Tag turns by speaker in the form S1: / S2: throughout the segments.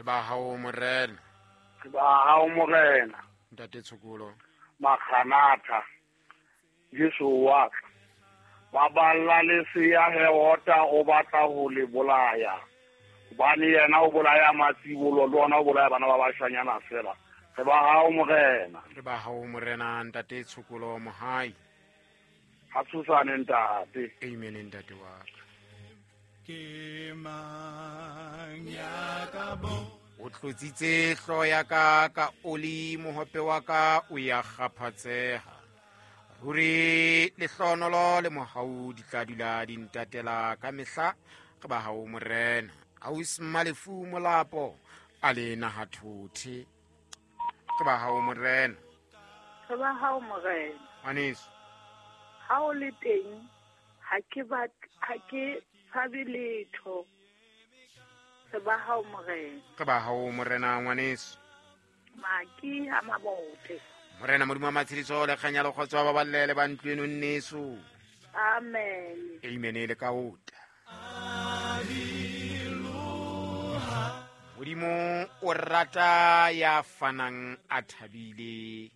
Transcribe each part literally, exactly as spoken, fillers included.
S1: Re ba hao morena.
S2: Re ba hao morena.
S1: Ntate Tshokolo.
S2: Maganatha. Jesu wa ka. Ba balla lesea Herota o batla ho le bolaya. Hobane yena o bolaya matsibolo le ona o bolaya bana ba bashanyana fela. Re ba hao morena.
S1: Re ba hao morena ntate Tshokolo Mohai.
S2: Ha tshosane ntate.
S1: Amen ntate wa ka.
S3: Ke mang ya ka bo
S1: O tlotsitse hloho ya ka ka oli, mohope wa ka o ya kgaphatseha. Ruri lehlohonolo le mohau di tla dula di ntatela ka mehla. Re ba hao morena. Ausi Malefu Molapo a le nahathothe. Re ba hao morena.
S4: Re ba hao morena.
S1: Ngwaneso.
S4: Ha o le teng ha ke batle, ha ke tshabe letho. Re ba hao morena.
S1: Re ba hao morena ngwaneso.
S4: Maki ha mabote.
S1: Morena Modimo wa matshediso le kganya le kgotso ba baballe le ba ntlo eno nneso.
S4: Amen.
S1: Amen le ka ota. Modimo o rata ya fanang a thabile.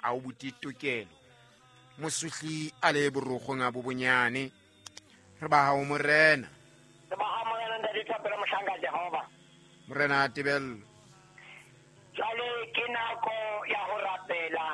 S1: A o buti tokelo. Mosuhli a le borogong a bo bonyane. Re ba hao morena.
S5: Re ba hao morena ntate Thapelo mohlanka Jehova.
S1: Morena Tebello.
S5: Jwale ke nako ya ho rapela.